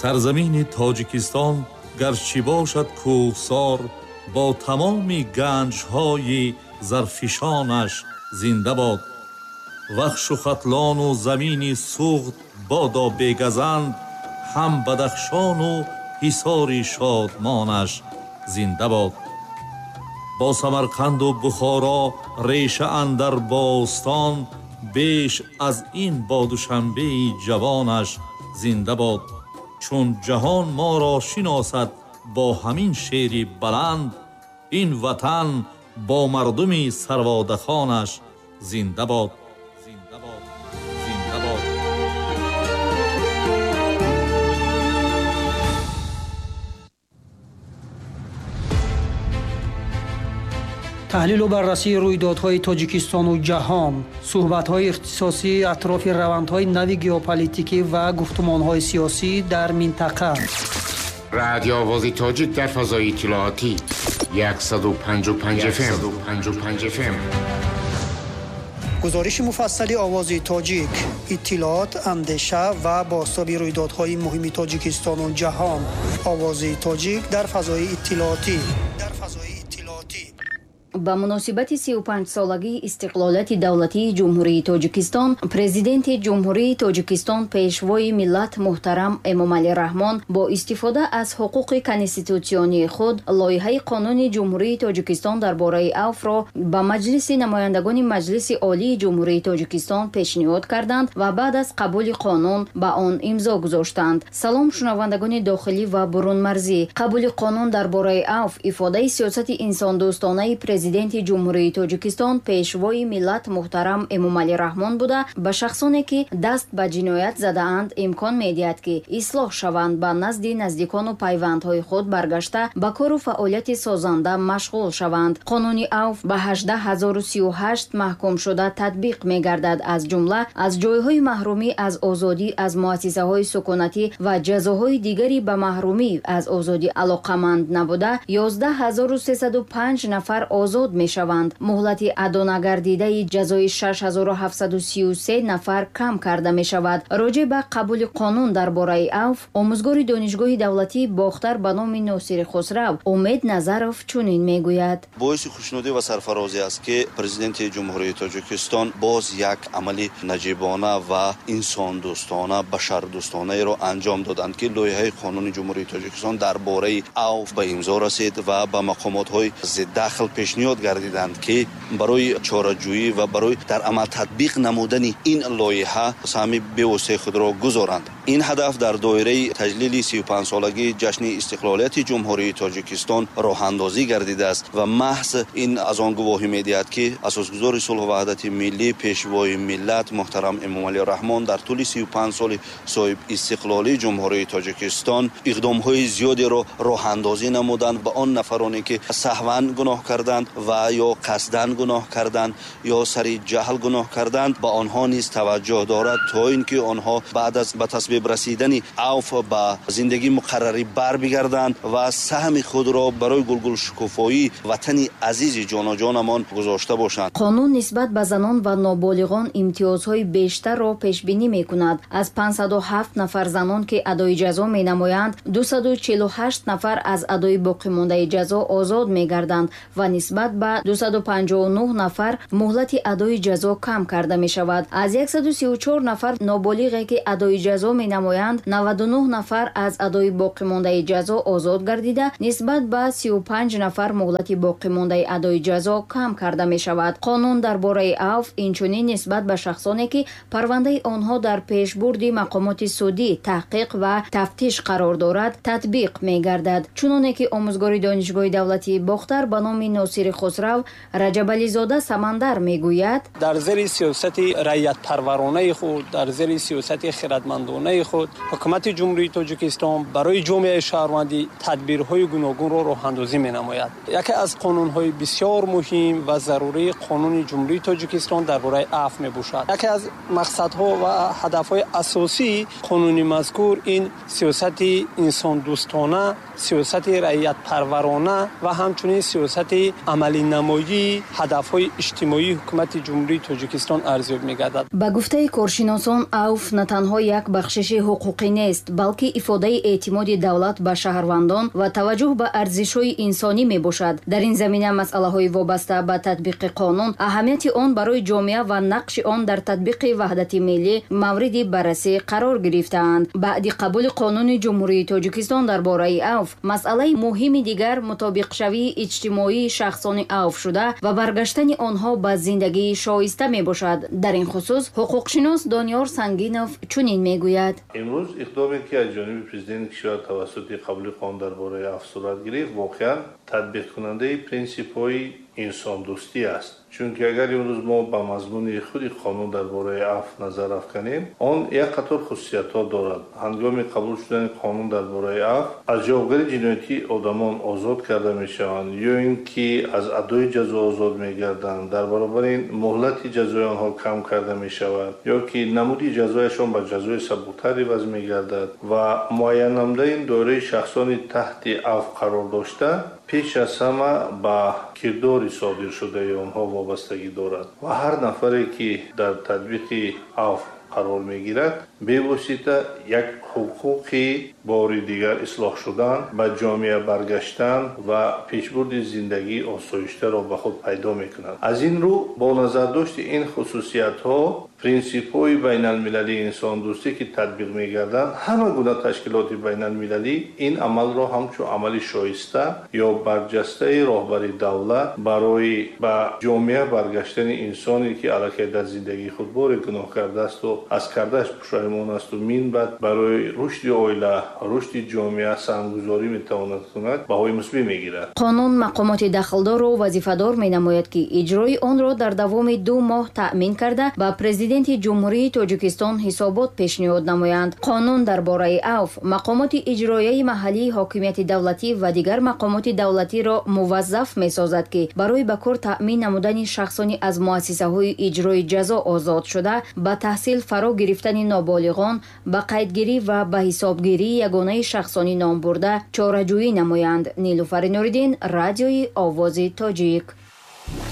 Сарзамини Тоҷикистон гарчи бошад кӯҳсор, бо тамоми ганҷҳои зарфишонаш зинда бод. Вахшу Хатлону замини Суғд бодо бегазанд, ҳам Бадахшону ҳисори шодмонаш зинда бод. Бо Самарқанду Бухоро реша андар бостон, беш аз ин бо Душанбеи ҷавонаш зинда бод. Чун ҷаҳон моро шиносад бо ҳамин шери баланд, ин ватан бо мардуми сарводахонаш зинда бод. Зинда бод, зинда бод. Таҳлилу баррасии рӯйдодҳои Тоҷикистону ҷаҳон, суҳбатҳои ихтисосӣ атрофи равандҳои нави геополитикӣ ва гуфтумонҳои сиёсӣ дар минтақа. Радио Овози Тоҷик дар фазои иттилоотӣ 155 FM. 155 FM. Гузориши муфассали Овози Тоҷик, иттилоот, андеша ва бозтоби рӯйдодҳои муҳими Тоҷикистону ҷаҳон. Овози Тоҷик дар фазои иттилоотӣ. Дар фазои иттилоотӣ. Ба муносибати 35-солагии истиқлолияти давлатии Ҷумҳурии Тоҷикистон, Президенти Ҷумҳурии Тоҷикистон, Пешвои миллат муҳтарам Эмомалӣ Раҳмон бо истифода аз ҳуқуқи конститутсионии худ лоиҳаи қонуни Ҷумҳурии Тоҷикистон дар бораи авфро ба Маҷлиси намояндагони Маҷлиси Олии Ҷумҳурии Тоҷикистон пешниҳод карданд ва баъд аз қабули қонун ба он имзо гузоштанд. Салом, шунавандагони дохилӣ ва бурунмарзӣ. Қабули қонун дар бораи авф ифодаи сиёсати инсондӯстонаи Президенти Ҷумҳурии Тоҷикистон, Пешвои миллат муҳтарам Эмомалӣ Раҳмон буда, ба шахсоне ки даст ба ҷиноят задаанд имкон медиҳад, ки ислоҳ шаванд, ба назди наздикону пайвандҳои худ баргашта, ба кору фаъолияти созанда машғул шаванд. Қонуни авф ба 18038 маҳкумшуда татбиқ мегардад, аз ҷумла аз ҷойҳои маҳрумӣ аз озодӣ, аз муассисаҳои сукунатӣ ва ҷазоҳои дигари ба маҳрумӣ аз озодӣ алоқаманд набуда 11305 нафар озод мешаванд. Муҳлати адонагардидаи ҷазои 6733 нафар кам карда мешавад. Роҷеъ ба қабули қонун дар бораи авф омӯзгори Донишгоҳи давлатии Бохтар ба номи Носири Хусрав Умед Назаров чунин мегӯяд. Боиси хушнудӣ ва сарфарозӣ аст, ки Президенти Ҷумҳурии Тоҷикистон боз як амали наҷибона ва инсондӯстона, башардӯстонаеро анҷом доданд, ки лоиҳаи қонуни Ҷумҳурии Тоҷикистон дар бораи авф ба имзо расид ва ба мақомотҳои зиддахл пешниҳод гардиданд, ки барои чораҷӯӣ ва барои дар амал татбиқ намудани ин лоиҳа саҳми бевоситаи худро гузоранд. Ин ҳадаф дар доираи таҷлили 35-солагии ҷашни истиқлолияти Ҷумҳурии Тоҷикистон роҳандозӣ гардидааст ва маҳз ин аз он гувоҳӣ медиҳад, ки асосгузори сулҳу ваҳдати миллӣ, Пешвои миллат муҳтарам Эмомалӣ Раҳмон дар тӯли 35 соли соҳиб истиқлолии Ҷумҳурии Тоҷикистон иқдомҳои зиёдеро роҳандозӣ намуданд ба он нафароне, ки саҳван гуноҳ карданд ва ё қасдан гуноҳ карданд ё сари ҷаҳл гуноҳ карданд, ба онҳо низ таваҷҷӯҳ дорад, то ин ки онҳо баъд аз ба тасвиб расидани авф ба зиндагии муқаррарӣ барбигарданд ва саҳми худро барои гулгулшукуфоии ватани азизи ҷоноҷонамон гузошта бошанд. Қонун нисбат ба занон ва ноболиғон имтиёзҳои бештарро пешбинӣ мекунад. Аз 507 нафар занон, ки адои ҷазо менамоянд, 248 нафар аз адои боқимондаи ҷазо озод мегарданд ва нисбат ба 259 нафар муҳлати адои ҷазо кам карда мешавад. Аз 134 нафар ноболиғе, ки адои ҷазо менамоянд, 99 нафар аз адои боқимондаи ҷазо озод гардида, нисбат ба 35 нафар муҳлати боқимондаи адои ҷазо кам карда мешавад. Қонун дар бораи авф инчунин нисбат ба шахсоне, ки парвандаи онҳо дар пешбурди мақомоти судӣ, таҳқиқ ва тафтиш қарор дорад, татбиқ мегардад. Чуноне ки омӯзгори Донишгоҳи давлатии Бохтар ба номи Носири Хусрав Раҷабализода Самандар мегӯяд: дар зери сиёсати раиятпарваронаи худ, дар зери сиёсати хирадмандонаи худ ҳукумати Ҷумҳурии Тоҷикистон барои ҷомеаи шаҳрвандӣ тадбирҳои гуногунро роҳандозӣ менамояд. Яке аз қонунҳои бисёр муҳим ва зарурии қонуни Ҷумҳурии Тоҷикистон дар бораи афв мебошад. Яке аз мақсадҳо ва ҳадафҳои асосии қонуни мазкур ин сиёсати инсондӯстона, сиёсати раиятпарварона ва ҳамчунин сиёсати амалинамоии ҳадафҳои иҷтимоии ҳукумати Ҷумҳурии Тоҷикистон арзёбӣ мегардад. Ба гуфтаи коршиносон, авф на танҳо як бахшиши ҳуқуқӣ нест, балки ифодаи эътимоди давлат ба шаҳрвандон ва таваҷҷӯҳ ба арзишҳои инсонӣ мебошад. Дар ин замина масъалаҳои вобаста ба татбиқи қонун, аҳамияти он барои ҷомеа ва нақши он дар татбиқи ваҳдати миллӣ мавриди баррасӣ қарор гирифтаанд. Баъди қабули қонуни Ҷумҳурии Тоҷикистон дар бораи авф, масъалаи муҳими дигар мутобиқшавии иҷтимоии шахсони авфшуда ва баргаштани онҳо ба зиндагии шоиста мебошад. Дар ин хусус ҳуқуқшинос Дониёр Сангинов чунин мегӯяд: Имрӯз иқдоме, ки аз ҷониби президенти кишвар тавассути қабули қонун дар бораи авф сурат гирифт, воқеан татбиқкунандаи принсипҳои инсондӯстӣ аст. Чунки агар имрӯз мо ба мазмуни худи қонун дар бораи авф назар афканем, он як қатор хусусиятҳо дорад. Ҳангоми қабул шудани қонун дар бораи авф аз ҷавобгарии ҷиноятӣ одамон озод карда мешаванд ё ин ки аз адои ҷазо озод мегарданд. Дар баробари ин муҳлати ҷазои онҳо кам карда мешавад ё ки намуди ҷазояшон ба ҷазои сабуктар иваз мегардад ва муайян намудани доираи шахсони таҳти авф қарор дошта пеш аз ҳама ба кирдори содиршудаи онҳо вобастагӣ дорад ва ҳар нафаре, ки дар татбиқи авф қарор мегирад, бевосита як ҳуқуқи бори дигар ислоҳ шудан, ба ҷомеа баргаштан ва пешбурди зиндагии осоиштаро ба худ пайдо мекунад. Аз ин рӯ, бо назардошти ин хусусиятҳо, принсипҳои байналмилалии инсондӯстӣ, ки татбиқ мегарданд, ҳама гуна ташкилоти байналмилалӣ ин амалро ҳамчун амали шоиста ё барҷастаи роҳбари давлат барои ба ҷомеа баргаштани инсоне, ки аллакай дар зиндагии худ боре гуноҳ кардаасту аз кардааш пушаймон асту минбаъд барои рушди оила, рушди ҷомеа саҳмгузорӣ метавонад кунад, баҳои мусбӣ мегирад. Қонун мақомоти дахлдорро вазифадор менамояд, ки иҷрои онро дар давоми 2 моҳ таъмин карда, ба Президенти Ҷумҳурии Тоҷикистон ҳисобот пешниҳод намоянд. Қонун дар бораи авф мақомоти иҷроияи маҳаллии ҳокимияти давлатӣ ва дигар мақомоти давлатиро муваззаф месозад, ки барои ба кор таъмин намудани шахсони аз муассисаҳои иҷрои ҷазо озод шуда, ба таҳсил фаро гирифтани ноболиғон, ба қайдгирӣ ва ба ҳисобгирии ягонаи шахсони номбурда чораҷӯӣ намоянд. Нилуфари Нуриддин, Радиои Овози Тоҷик.